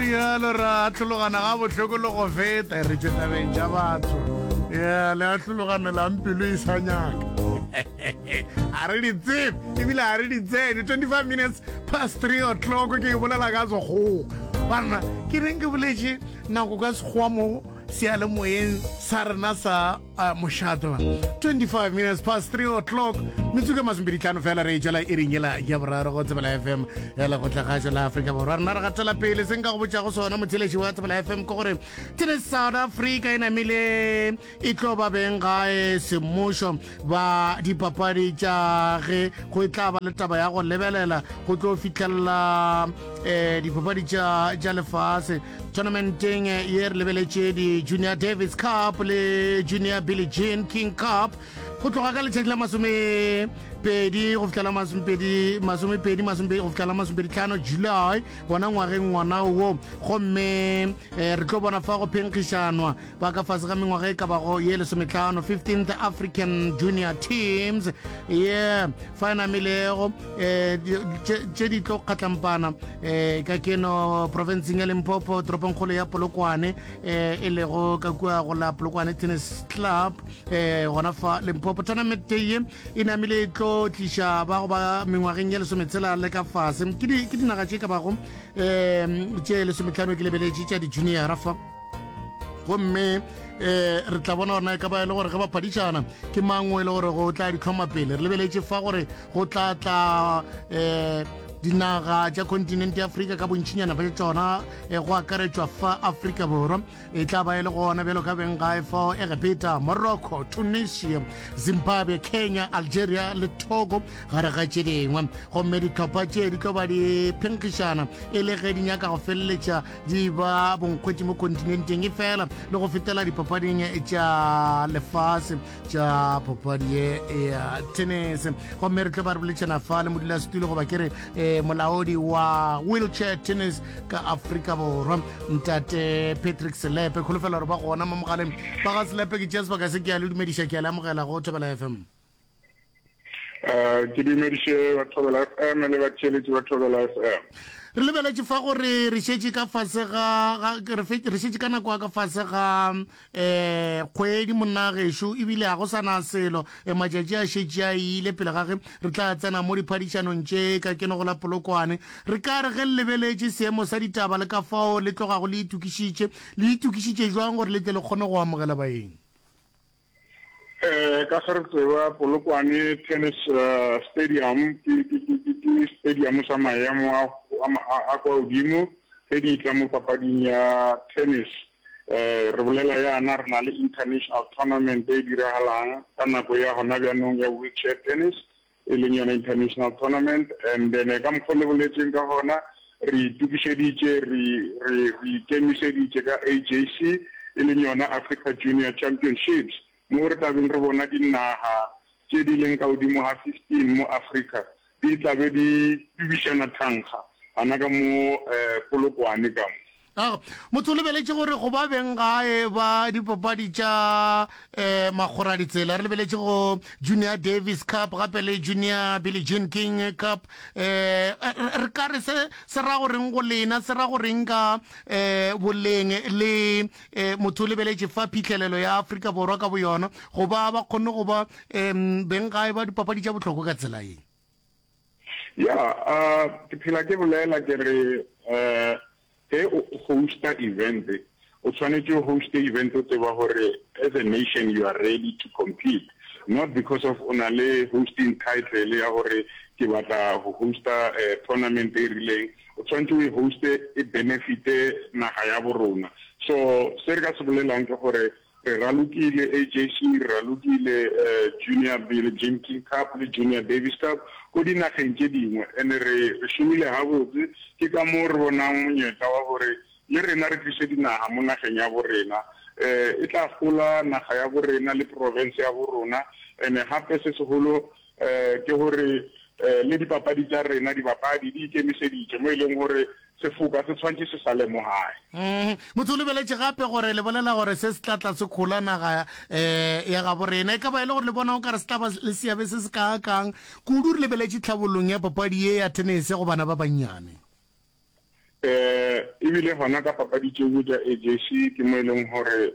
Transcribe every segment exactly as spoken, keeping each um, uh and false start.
Rialo ra tlhologana ga bohloko le go feta, re tšwe tabeng tša batho. Ya le a hlologanelang pelo e sa nyaka. A re di tsebe ebile a re di tsene. twenty-five minutes past three o'clock, ke bolela ka Sekgowa. Banna, ke reng ke boletše nako ka Sekgowa mo seyalemoyeng sa rena sa uh, mošate? twenty-five minutes past three o'clock, metsotso masomepedi tlhano fela re e tšwela iring ela ya boraro go Tsebela F M ya Lekgotlakgašo la Afrika Borwa. Rena re gatela pele. Se nka go botšago sona, motheletši wa Tsebela F M, ke gore Tennis South Africa e namile e tlo ba beng gae semmušo ba dipapadi tša ge go tla ba le taba ya go lebelela go tlo fitlhelela um dipapadi tša tša lefase. Tournamenteng ye re lebeletše di-Junior Davis Cup le Junior Billie Jean King Cup go tloga ka letšatši la masome pedi go fihlela masomepedi masomepedi masomepedi go fihlela masomepedi tlhano July gona ngwageng ngwana wo. Gomme eh, re tlo bona fa go phenkgišanwa ba ka fase ga mengwaga e ka bago ye lesometlhano, fifteenth African Junior Teams ye fa e namilego um tše di tlo kgatlampana um ka keno provinceng ya Limpopo, toropongkgolo ya Polokwane, um e lego ka kua go la Polokwane Tennis Club um gona fa Limpopo. Tournament ye e namile e tlo tliša ba go ba mengwageng ya lesometshela le ka fase, ke dinaga tše ka bago um tše lesometlhano, ke lebeletše tša di-juniora fa. Gomme um re tla bona gorena e ka ba e le gore ge ba phadišana ke mangwe e le gore go tla di tlhoma pele. Re lebeletše fa gore go tla tla um dinaga tša kontinente ya Afrika ka bontšinyana ba tšona, go akaretšwa fa Afrika Borwa e tla ba e le gona bjalo ka beng gae fao, Egepeta, Morocco, Tunisia, Zimbabwe, Kenya, Algeria le Togo gare ga tše dingwe. Gomme ditlhopha tše di tlo ba di phenkgišana e le ge di nyaka go feleletša di ba bonkgwetši mo kontinenteng e fela le go fetela dipapading tša lefase tša papadi ye ya tennis. Gomme re tlo ba re boletšana fa le modulasetulo, goba ke re um molaodi wa wheelchair tennis ka Afrika Borwa, ntate Patrick Selepe. Kholofela gore ba gona mo mogaleng ba ga Selepe. Ke tšea sebaka se ke a le dumediša, ke a le amogela go Thobela F M. Eh, ke dumediše ba Thobela F M le batheeletši ba Thobela F M. Re lebeletše fa gore re šetše ka fase ga re šetše ka nako ya ka fase ga um kgwedi, monna gešo, ebile ga go sana selo, e matšatši a šetše a ile pele ga ge re tla tsena mo diphadišanong tše ka keno go la Polokwane. Re ka re ge le lebeletše seemo sa ditaba le ka fao le tlogago le itokišitše, le itokišitše jwang gore le tle le kgone go amogela baeng? Eh ka ge re tseba, Polokwane Tennis uh, Stadium ke ke ke ke stadium sa maemo a a kwa godimo ge di tla mo papading ya tennis. eh re bolela yana re na le international tournament e diragalang ka nako ya gona bjanong ya wheelchair tennis, e leng yona international tournament. And then ka mokgwa le boletseng ka gona, re itokišeditše, re re re ikemišeditše ka A J C, e leng yona Africa Junior Championships, mo re tlabeng re bona dinaga tše di leng ka godimo ga fifteen mo Africa di tlabe di tubišana thankga gana ka mo um Polokwane ka mo. Aga motho o lebeletše gore go ba beng gae ba dipapadi tša um makgora ditsela, re lebeletše go Junior Davis Cup gape le Junior Billie Jean King Cup, um re ka re se se ra goreng go lena, se ra goreng ka um boleng le um motho o lebeletše fa phitlhelelo ya Afrika Borwa ka boyona go ba ba kgonne go ba um beng gae ba dipapadi tša bohlokwa ka tsela ye? Ya, uh ke phela ke bolela ke re uh ge o hosta event, o tshwanetse o hoste event o tseba gore as a nation you are ready to compete, not because of o na le hosting title ya gore ke batla go hosta uh, tournament e rileng. O tshwanetse o e hoste e benefite naga ya borona. So se re ka se bolelang ke gore re ralokile A J C, re ralokile uh, Junior Billie Jean King Cup le Junior Davis Cup ko dinageng tše dingwe, and re re šomile gabotse. Ke ka moo re bonang monyetla wa gore le rena re tlise dinaga mo nageng ya borena, um e tla gola naga ya borena le province ya borona. And gape se segolo um ke gore um le dipapadi tša rena, dibapadi di ikemiseditše mo e leng gore sefoka se tshwanetse se sa lemogae. Mm, motho o lebeletše gape gore le bolela gore se se tla tla se kgola naga um ya gabo rena, e ka ba e le gore le bona o ka re se tla ba le seabe se se kaakang kudu, re lebeletše tlhabollong ya papadi ye ya tennis go bana ba bannyane? um Ebile gona ka papadi tšeo tša A J C ke mo e leng gore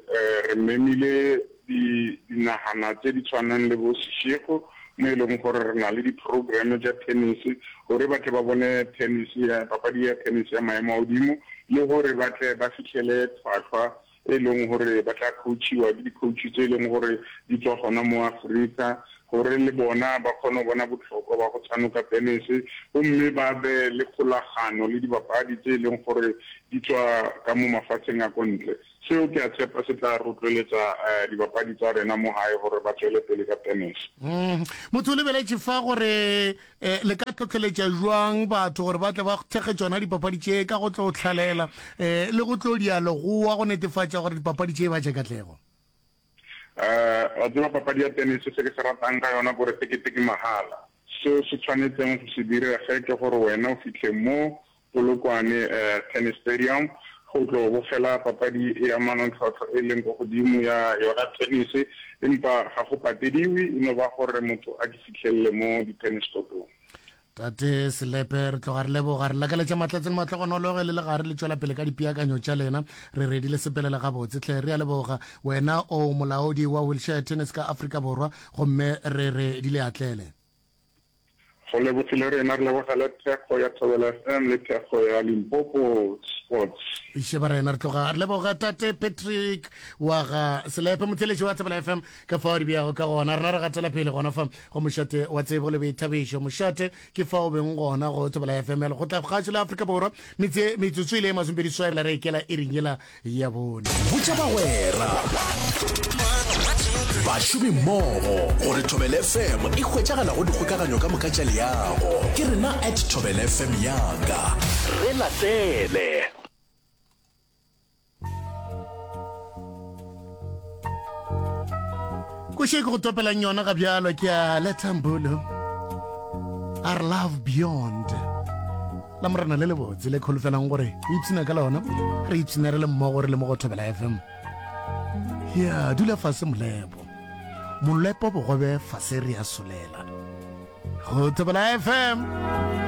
re memile dinagana tše di tshwanang le bo Seshego, mo e leng gore re na le di-program tša tennis gore ba tle ba bone tennis ya papadi ya tennis ya maemo a godimo, le gore ba tle ba fihlele tlhwatlhwa e leng gore ba tla coachiwa ke di-coach tse e leng gore di tswa gona mo Afrika, gore le bona ba kgone go bona bohlokwa ba go tshanoka tennis, gomme ba be le kgolagano le dibapadi tse e leng gore di tswa ka mo mafatsheng a ko ntle. Seo ke a tshepa se tla rotloeletsa um dibapadi tsa rena mo gae gore ba tswele pele ka tennis. Mm. motho o lebeletše fa gore um le ka tlhotlheletša jwang batho gore ba tle ba thekge tšona dipapadi tše ka go tlo tlhalela um le go tlo dialogoa go netefatša gore dipapadi tše ba tše katlego? um Wa tseba, papadi ya tennis, se ke se ratang ka yona kore tekete ke mahala. Seo se tshwanetseng go se direge ke gore wena o fitlhe mo Polokwane um tennis stadium go tlo bogela papadi ya manontlhotlho e leng ko godimo ya yona tennis, empa ga go patediwe, e no ba gore motho a ke fitlhelele mo di-tennis courtong. Tate Selepe, re tloga re leboga, re lakaletša matlatse le matlogonolo ge le le gare le tšwela pele ka dipeakanyo tša lena. Re redi le sepelele gabotse tlhe. Re a leboga. Wena o molaodi wa wheelchair tennis ka Afrika Borwa, gomme re re di le atlele. Go lebogile rena, re lebogele thekgo ya Thobela F M le thekgo ya Limpopo Sports. Iše ba rena, re tloga re leboga tate Patrick wa ga Selepe, motheletši wa Thobela F M. Ka fao di beago ka gona, rena re gatela pele gona fa go mošate wa tsebo le boithabišo. Mošate ke fa o beng gona go Thobela F M ya lekgotla kgašo la Afrika Borwa. Metse metsotso ile masomepedi swaela re ikela e ring yela ya bone. Botša bagwera, bašomi mmogo gore Thobela F M e hwetšagala go dikgokaganyo ka moka tša leago. Ke rena at Thobela F M yaka. Re latele. Koše ke go topelang yona ga bjalo ke a Letambolo, our love beyond la morena le lebotse le kholofelang gore o ipsina ka lona, re ipsina re le mmogo, re le mo go Thobela F M. Ya dula fase molepo, molepo bogobe fase, re ya solela go Thobela F M.